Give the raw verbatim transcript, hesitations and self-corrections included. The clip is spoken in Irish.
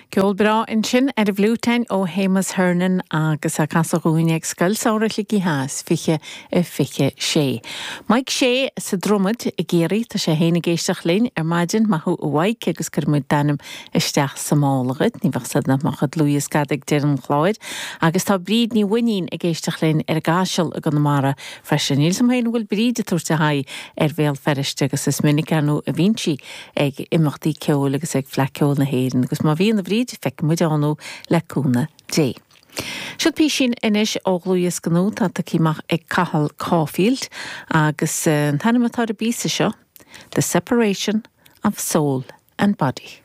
Ceol breá ansin ar an bhfliúiteáin ó Shéamus Hernon agus a casadh dúinn ag Scoil Samhraidh Shligigh Theas fiche a fiche sé. Mike Shea sa Dromad i gCiarraí tá sé féin ag éisteacht linn ar maidin maith thú a Mhaidhc agus cuirfidh muid d'ainm isteach sa mála dhuit, ní bheadh siad nach mbeadh dlúthdhiosca ag deireadh an chláir, agus tá Bríd Ní Bhuinnín ag éisteacht linn ar an gCaiseal i gConamara freisin. Níl sam féin bhfuil Bríd ag tabhairt a haghaidh ar Bhéal Feirste agus is minic anú a bhíonn sí ag imeachtaí ceoil agus ag Fleadh Cheoil na hÉireann agus má bhíonn a Bhríd feicfidh muid ann le cúnamh Dé. Siod písín anois ó dhlúthdhiosca nua atá tagtha amach ag Cathal Caulfield agus an t-ainm atá ar an bpíosa seo, The Separation of Soul and Body.